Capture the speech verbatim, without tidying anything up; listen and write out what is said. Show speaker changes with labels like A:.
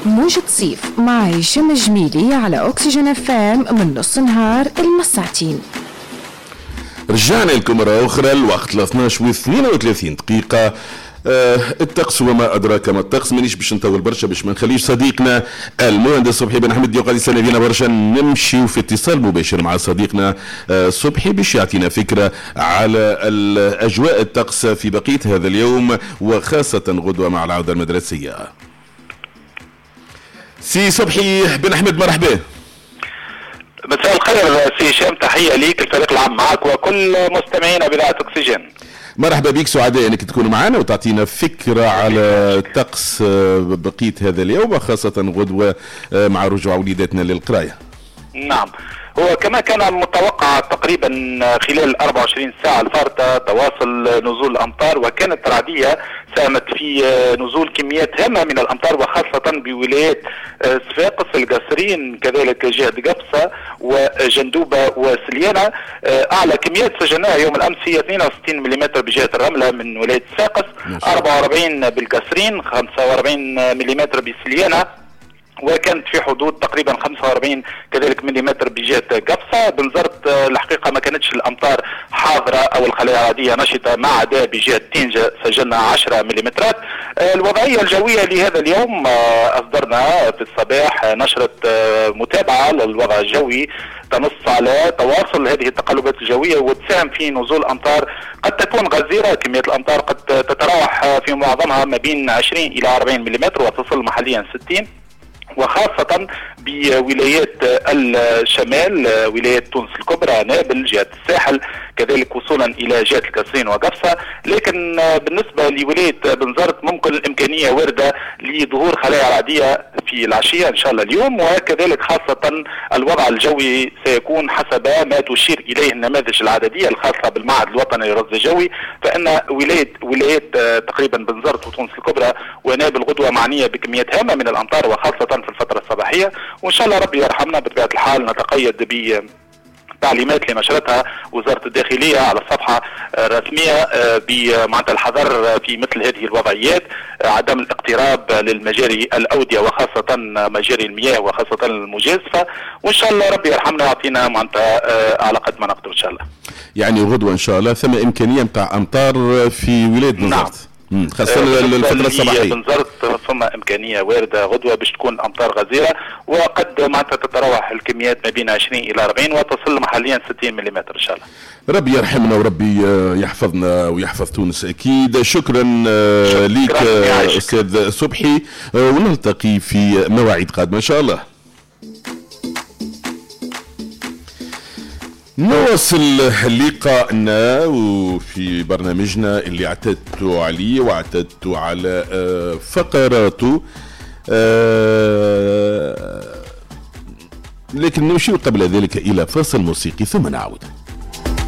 A: موجة صيف مع هشام الجميلي على أكسجين اف ام من نص نهار المساعتين.
B: رجعنا لكم مرة أخرى، الوقت اثناش واثنين وثلاثين دقيقة. آه الطقس وما أدراك ما الطقس، مانيش باش نطول برشا باش ما نخليش صديقنا المهندس صبحي بن حمد يقعد يستنى فينا برشا. نمشي في اتصال مباشر مع صديقنا آه صبحي باش يعطينا فكرة على الأجواء الطقس في بقية هذا اليوم وخاصة غدوة مع العودة المدرسية. سي صبحي بن أحمد مرحبا.
C: مساء الخير سي هشام، تحية ليك الفريق العام معك وكل مستمعينا بإذاعة أكسجين.
B: مرحبا بك، سعداء انك تكون معنا وتعطينا فكرة على طقس بقية هذا اليوم وخاصة غدوة مع رجوع وليداتنا للقراية.
C: نعم، هو كما كان متوقع تقريبا خلال أربعة وعشرين ساعة الفارطة تواصل نزول الأمطار، وكانت رعدية ساهمت في نزول كميات هامة من الأمطار وخاصة بولايات صفاقس، القصرين، كذلك جهة قفصة وجندوبة وسليانة. أعلى كميات سجلناها يوم الأمس هي اثنين وستين ملم بجهة الرملة من ولاية صفاقس، أربعة وأربعين بالقصرين، خمسة وأربعين ملم بسليانة، وكانت في حدود تقريبا خمسة وأربعين كذلك مليمتر بجهة قفصة. بنزرت الحقيقة ما كانتش الأمطار حاضرة أو الخلايا الرعدية نشطة، ما عدا بجهة تينجة سجلنا عشرة مليمترات. الوضعية الجوية لهذا اليوم، أصدرنا في الصباح نشرة متابعة للوضع الجوي تنص على تواصل هذه التقلبات الجوية وتساهم في نزول أمطار قد تكون غزيرة. كمية الأمطار قد تتراوح في معظمها ما بين عشرين إلى أربعين مليمتر وتصل محليا ستين، وخاصة بولايات الشمال، ولايات تونس الكبرى، نابل، جهة الساحل، كذلك وصولا إلى جهة القصرين وقفصة. لكن بالنسبة لولاية بنزرت ممكن الإمكانية واردة لظهور خلايا رعدية في العشية إن شاء الله اليوم، وكذلك خاصة الوضع الجوي سيكون حسب ما تشير إليه النماذج العددية الخاصة بالمعهد الوطني للرصد الجوي، فإن ولاية ولايات تقريبا بنزرت وتونس الكبرى ونابل غدوة معنية بكميات هامة من الأمطار وخاصة في الفترة الصباحية، وإن شاء الله ربي يرحمنا. بطبيعة الحال نتقيد ب تعليمات اللي نشرتها وزارة الداخلية على الصفحة الرسمية بمعنى الحذر في مثل هذه الوضعيات، عدم الاقتراب للمجاري الأودية وخاصة مجاري المياه وخاصة المجازفة، وإن شاء الله ربي يرحمنا ويعطينا معناتها على قد ما نقدر إن شاء الله.
B: يعني غدوة إن شاء الله ثم إمكانية متاع أمطار في ولاية بنزرت. نعم. خاصة الفترة الصباحية.
C: بنزرت ثم إمكانية واردة غدوة باش تكون أمطار غزيرة، وقد معناتها تتراوح الكميات ما بين عشرين إلى أربعين وتصل محليا ستين ملم إن شاء الله.
B: ربي يرحمنا وربي يحفظنا ويحفظ تونس أكيد. شكرا, شكرا لك أستاذ صبحي، ونلتقي في مواعيد قادمة إن شاء الله. نواصل لقاءنا وفي برنامجنا اللي اعتدت عليه واعتدت على فقراته، لكن نمشي قبل ذلك إلى فاصل موسيقي ثم نعود.